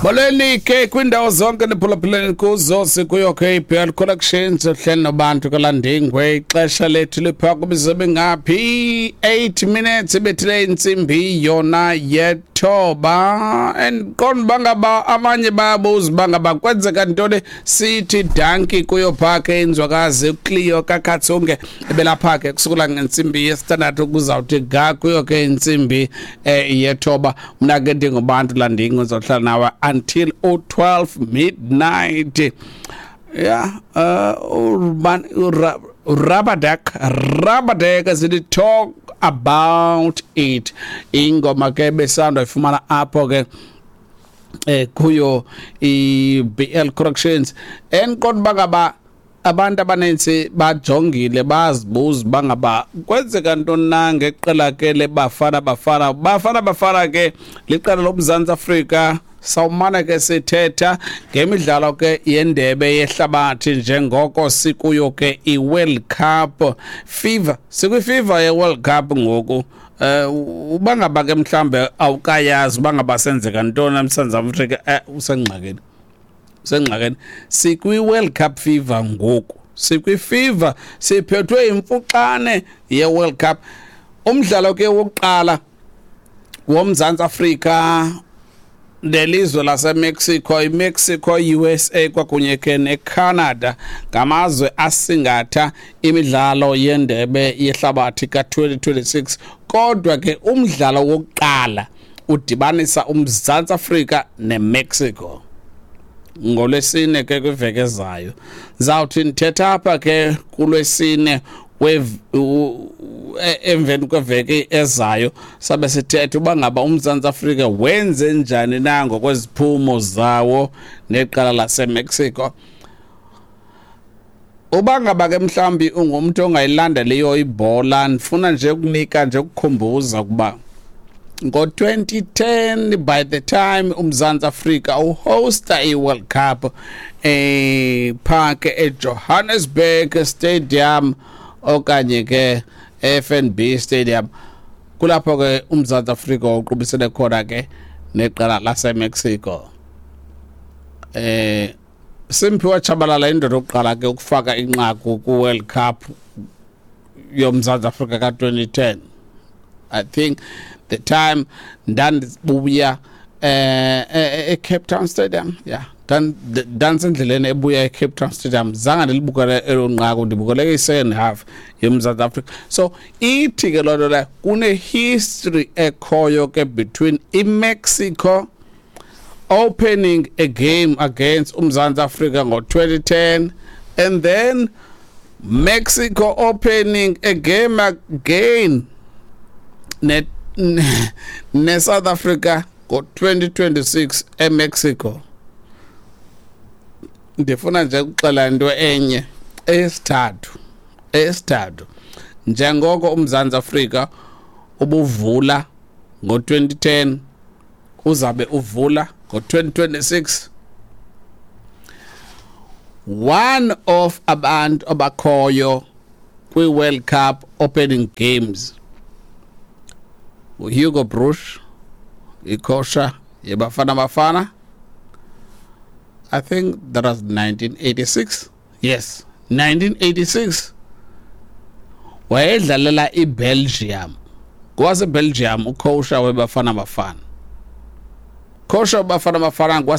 Molweni ke kwiindawo zonke niphulaphuleni kuzo, sikuyo ke iBL Collections, uhleli nobantu kaLandingwe. Ixesha lethu lipha kubizo bengaphi 8 minutes ibethile intsimbi yona yethoba. And qonda uba ngaba abanye bayabuza uba ngaba kwenzeka ntoni. Sithi danki kuyo phaa ke inzwakazi uCleo kaKhatsunge ebelapha ke kusukela ngentsimbi yesithandathu ukuzawuthi ga kuyo ke intsimbi yethoba. Mna ke ndinguBantu Landingo, ndizohlala nawe until u-12 midnight. Yeah, Urban Rabadek, Rabadek sithi "Talk About It". Ingoma ke besanda ifumana apho ke kuyo i-BL Corrections. Endiqonda uba ngaba abantu abanintsi bajongile, bazibuza uba ngaba kwenzeka ntoni na ngeqela ke leBafana Bafana. Bafana Bafana ke liqela loMzantsi Afrika. Sawumane ke sithetha ngemidlalo ke yendebe yehlabathi njengoko sikuyo ke i-World Cup fever, sikwi-fever ye-World Cup ngoku. Uba ngaba ke mhlambe awukayazi uba ngaba senzeka ntoni eMzantsi Afrika, usengxakini, usengxakini. Sikwi-World Cup fever ngoku, sikwi-fever, siphethwe imfuxane ye-World Cup. Umdlalo ke wokuqala woMzantsi Afrika nelizwe laseMexico, iMexico, USA kwakunye ke neCanada ngamazwe asingatha imidlalo yendebe yehlabathi ka-2026, kodwa ke umdlalo wokuqala udibanisa uMzantsi Afrika neMexico ngolwesine ke kwiveki ezayo. Zawuthi ndithetha apha ke kulwesine emveni kweveki ezayo, sabe sithetha uba ngaba uMzantsi Afrika wenze njani na ngokweziphumo zawo neqala laseMexico. Uba ngaba ke mhlawumbi ungumntu ongayilandeliyo ibhola, ndifuna nje ukunika nje ukukhumbuza ukuba ngo-2010, by the time uMzantsi Afrika uhosta i-World Cup park eJohannesburg Stadium okanye ke FNB Stadium, kulapho ke uMzantsi Afrika uqubisene khona ke neqela laseMexico. Simphiwe Tshabalala, indoda yokuqala ke ukufaka inqaku ku-World Cup yoMzantsi Afrika ka-2010. I think the time ndandibuya eCape Town Stadium, yeah, ndandisendleleni ebuya eCape Town Stadium, zange ndilibukele elo nqaku, ndibukele i-second half yoMzantsi Afrika. So ithi ke loo nto leyo kune-history ekhoyo ke between iMexico opening a game against uMzantsi Afrika ngo-2010 and then Mexico opening a game again ne South Africa ngo-2026 eMexico. Ndifuna nje ukuxela into enye eyesithathu, njengoko uMzantsi Afrika ubuvula ngo-2010, uzabe uvula ngo-2026, one of abantu abakhoyo kwi-World Cup opening games, uHugo Broos, icoach yeBafana Bafana. I think that was 1986, yes, 1986, wayedlalela iBelgium. KwaseBelgium ucoach weBafana Bafana, coach weBafana Bafana.